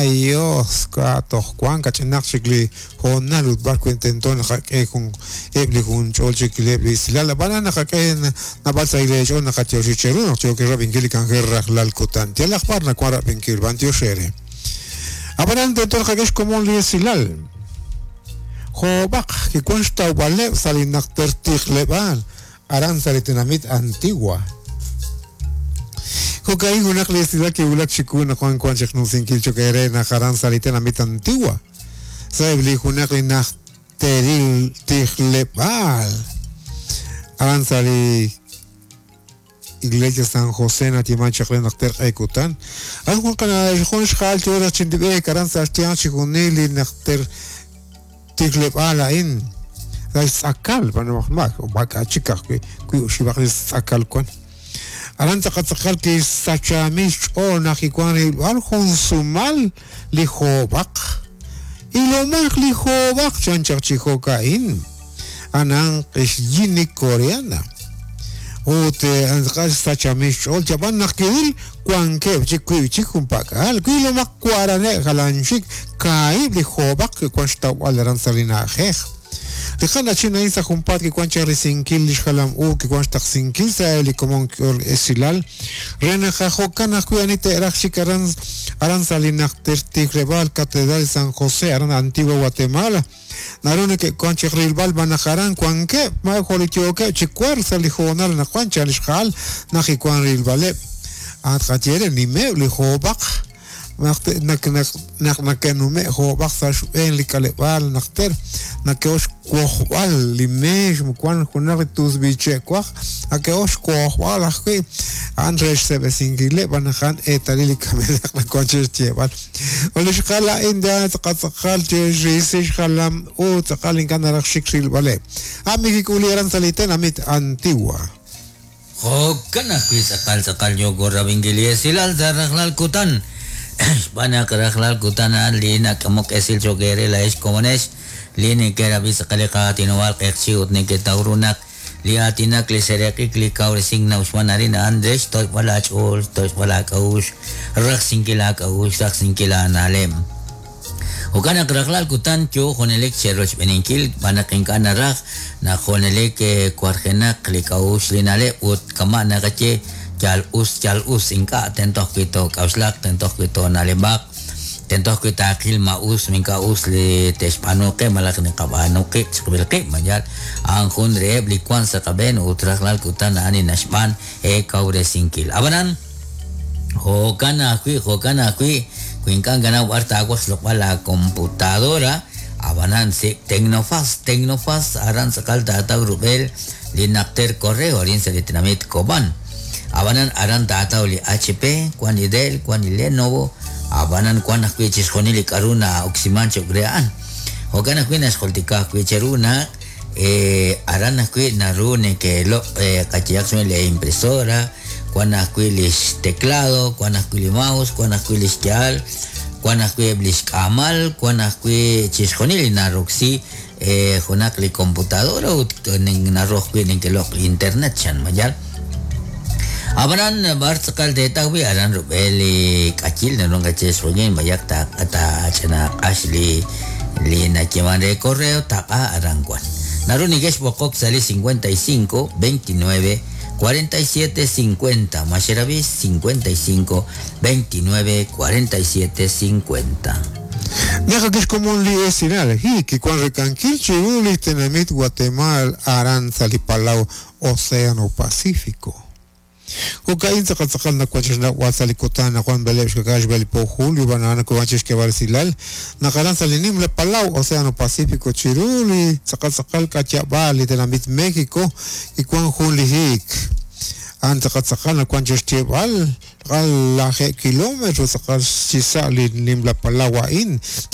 Yos, k'a' toj wank kach'inaq chik li hoonal ut b'ar wi' tento naqak'e jun eb' li junch'ol chik eb' li esilal. Ab'anan naqak'e naab'al sahil eech'ool naqatyoxi cheru naq yookin rab'inkil li k'anjel rajlal kutan. Yalaq b'ar nawank rab'inkil, b'anyox eere. Ab'anan tento naqak'e xkomon li esilal. Joob'aq kiwank xtawb'aleb' sa' li najter tijleb'aal aran sa' li tenamit Antigua. Jo'ka'in junaq li esilal kiwulak chiwu naq wan wank chiqnumsinkil cho'q eere naq aran sa' li tenamit Antigua, sa'eb' li junaq li najteril tijleb'aal aran sa' li Iglesia San José nayeeman chaq re najter q'e kutan. Aran jun qana jun xja'al yo raj chi b'eek aran sa' xyanq chixjunil li najter tijleb'aal a'in sa' xtz'akal b'anojmak maak'a' chik ajwi' wi oxib'aq li xtz'akal wan. Aran tz'aqal kixsachaamil xch'ool naq kiwan rilb'al jun sumal li joob'aq. Ilomaq li joob'aq chan chaq chi jo'ka'in. Anan xyini coreana. Ut tz'aqal xsachaamil xch'ool chab'an naq kiril wankeb' chik wiib' chik junpak'al. Wilomaq waraneb' jalan chik kaahib' li joob'aq kiwan xtawb'al aran sa' li na'ajej. Li qana'chin a'in sa' junpaat kiwan chaq risinkil li xjalam u kiwan xtaqsinkil sa' li komon esilal re naq jo'kan ajwi' ani te'raj xik aran aran sa' li najter tijleb'aal Catedral San José aran Antigua Guatemala. Naru neke'wank chaq rilb'al b'an naq aran wankeb' ma jo' li yookeb' chi wark sa' li hoonal anaqwan chan li xja'al naq kiwank rilb'aleb'. At qaye re nimeb' li joob'aq naq naq nake'nume' joob'aq sa' xb'een li k'aleb'aal najter nake'ok xwojb'al li meex wank junaq li tusb'il che' waj nake'ok xwojb'al ajwi' a'an re xseb'esinkileb' b'an naq a'an eetalil li kamenaq nawank chi xyeeb'al. Ut li xjal a'in tz'aqal tz'aqal chirisi xjalam u tz'aqal ink'a' naraj xik rilb'aleb'. A' mikik'uli aran sa' li tenamit Antigua. Jo'kan ajwi' tz'aqal tz'aqal yooko rab'inkil li esilal sa' rajlal kutan. Xb'aan naq rajlal kutan a'an li nak'amok esil cho'q eere laa'ex komonex li neke'rab'i tz'aqal li qaatinob'aal q'eqchi' ut neketaw ru naq Li aatinak, li seeraq'ik, li kawresink na'uxman arin a'an re xtoch'b'al aach'ool, xtoch'b'al aak'a'uxl, rajsinkil aak'a'uxl, rajsinkil aana'leb'. Jo'kan naq rajlal kutan yoo junelik cherochb'eeninkil xb'aan naq ink'a' naraj naq junelik warjenaq li k'a'uxl li na'leb' ut kama' naqaye yal us yal us ink'a' tento ajwi' took'a'uxlaq, tento ajwi' toona'leb'aq. Tento ajwi' taaqil ma us ma ink'a' us li te'xb'aanu qe malaj naqab'aanu qib' chiqib'il qib', ma yaal a'an jun reheb' li wank sa' qab'een ut rajlal kutan a'an li naxb'aan eekawresinkil. Ab'anan, jo'kan ajwi', jo'kan ajwi', wi ink'a' nakanaw b'ar taawaj xloq'b'al laakomputadora, ab'anan sik' Tecnofast, Tecnofast aran tz'aqal taataw rub'el li najter correo arin sa' li tenamit Cobán. Ab'anan aran taataw li HP, wan li Dell, wan li Lenovo, ab'anan wan ajwi' chixjunil li k'a'ru na'oksiman cho'q re a'an. Jo'kan ajwi' naxjultika ajwi' cheru naq aran ajwi' naru neke'loq' qayehaq xb'een li impresora, wan ajwi' li xteclado, wan ajwi' li mouse, wan ajwi' li xya'al, wan ajwi' eb' li xk'aamal, wan ajwi' chixjunil li naroksi junaq li computadora ut naru ajwi' neke'loq' li internet chan ma yaal. Ab'anan b'ar tz'aqal teetaw wi' aran rub'el li k'ayil naru naqaye xjolin b'ayaq taach'inaq'ax li li nayeeman re correo taq'a aran wan. Naru neke'xb'oqok sa' li 55 29 47 50 ma xerab'i 55 29 47 50. Naq kixkomon li esilal, hi kiwan rekankil chiru li tenamit Guatemala aran sa' li palaw Océano Pacífico. Jo'ka'in tz'aqal tz'aqal nawan chi xnawb'al sa' li kutan naq wan b'eleeb' xka'k'aal xb'e li po julio b'an a'an nawan chi xk'eeb'al resilal naq aran sa' li nimla palaw Océano Pacífico chiru li tz'aqal tz'aqal k'atyab'aal li tenamit México kiwan jun li hiik. A'an tz'aqal tz'aqal nawan chi xyeeb'al tz'aqal lajeeb' kilómetro tz'aqal chi sa' li nimla palaw a'in.